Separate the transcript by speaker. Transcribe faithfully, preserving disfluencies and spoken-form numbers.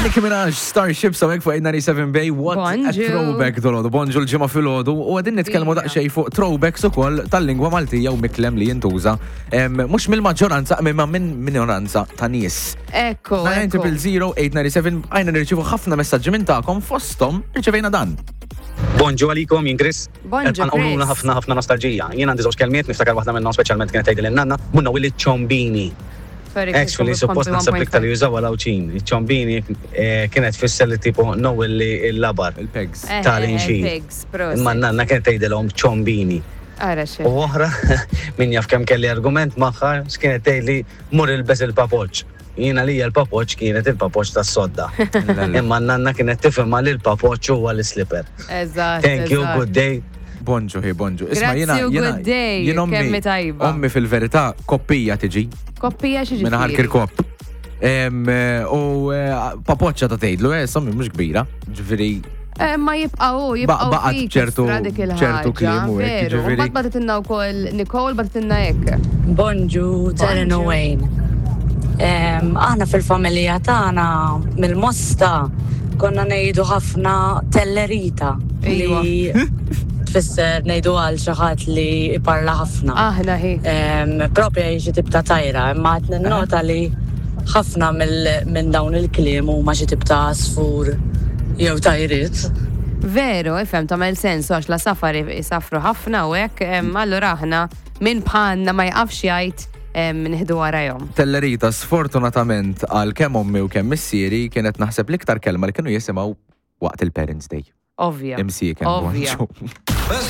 Speaker 1: Nicki Minaj, Starships, hawnhekk fuq eight ninety-seven Bay, what a
Speaker 2: Bonġu.
Speaker 1: throwback dal-għodu, bonġu, l-Ġimgħa filgħodu, u qegħdin nitkellmu
Speaker 2: Ija.
Speaker 1: daqsxejn fuq throwbacks ukoll tal-lingwa Maltija u miklem li jintuża, em, mhux mill-maġġoranza, imma minn minoranza ta' nies.
Speaker 2: Ekku, ekku.
Speaker 1: nine zero zero eight nine seven, għajna nirċivu ħafna messaġġi minn tagħkom, fosthom irċevejna dan.
Speaker 3: Bonġu għalikom, jien Chris.
Speaker 2: Bonġu,
Speaker 3: Għanqoluna
Speaker 2: Chris.
Speaker 3: Ħafna ħafna nostalġija. Jien għandi żewġ kelmiet, niftakar waħda minnhom speċjalment kienet tgħidli n-nanna, munna willi ċombini.
Speaker 2: Sorry, Chris,
Speaker 3: Actually, suppost
Speaker 2: kompli
Speaker 3: naħseb iktar
Speaker 2: one point five.
Speaker 3: jużaw għal-Għawdxin. Ċombini eh, kienet tfisser li tipo no willi il-labar
Speaker 1: Il-pegs.
Speaker 2: Eh,
Speaker 3: tal-inxir.
Speaker 2: eh, Pigs, prosit.
Speaker 3: Imma n-nanna kienet tgħidilhom ċombini.
Speaker 2: Ara xe.
Speaker 3: U oħra, min jaf kemm kelli argument magħha, x'kienet tgħidli: "Mur ilbes il-papoċ." Jiena li l-papoċ kienet il-papoċ tas-sodda. Imma n-nanna kienet tifhimha li l-papoċ huwa l-slipper.
Speaker 2: Eżatt.
Speaker 3: Thank you,
Speaker 2: eżatt.
Speaker 3: good day.
Speaker 1: Bonġu, hi, bonġu. Isma'
Speaker 2: Grazzi
Speaker 1: jiena
Speaker 2: u
Speaker 1: jiena
Speaker 2: good day,
Speaker 1: jien ommi,
Speaker 2: kemmi tajba.
Speaker 1: Ommi fil-verità koppija tiġi
Speaker 2: Koppija xi
Speaker 1: minn
Speaker 2: ġifieri?
Speaker 1: Kirkop. Em, eh, U eh, papoċċa ta' tgħidlu, eh, sommi mhux kbira, ġifieri
Speaker 2: Eh, Ma jibqaw, jibqaw
Speaker 1: baqgħet
Speaker 2: fik
Speaker 1: ċertu-
Speaker 2: istra dik il-ħaġa,
Speaker 1: ċertu kliem u hekk,
Speaker 2: veru.
Speaker 1: ġifieri.
Speaker 2: Mbagħad bagħtitilna wkoll Nicole, bagħtitilna hekk.
Speaker 4: Bonġu, Taryn u Wayne. Em, Aħna fil-familja tagħna mill-Mosta konna ngħidu ħafna tellerita li tfisser ngħidu għal xi ħadd li iparla ħafna.
Speaker 2: Aħna hi.
Speaker 4: Em, Propja hi xi tip ta' tajra, imma qed ninnota li ħafna mill- minn dawn il-kliem huma xi tip ta' għasfur jew tajriet.
Speaker 2: Veru, ifhem, tagħmel sens għax l-għasafar isafru ħafna u hekk, em, allura aħna minn bħalna ma jqafx jgħid em, nieħdu warajhom.
Speaker 1: Tellerita, sfortunatament għal kemm ommi u kemm missieri, kienet naħseb l-iktar kelma li kienu jisimgħu waqt il-Parents' Day.
Speaker 2: Ovvja.
Speaker 1: Imsieken.
Speaker 2: Ovvja.
Speaker 1: Bonġu.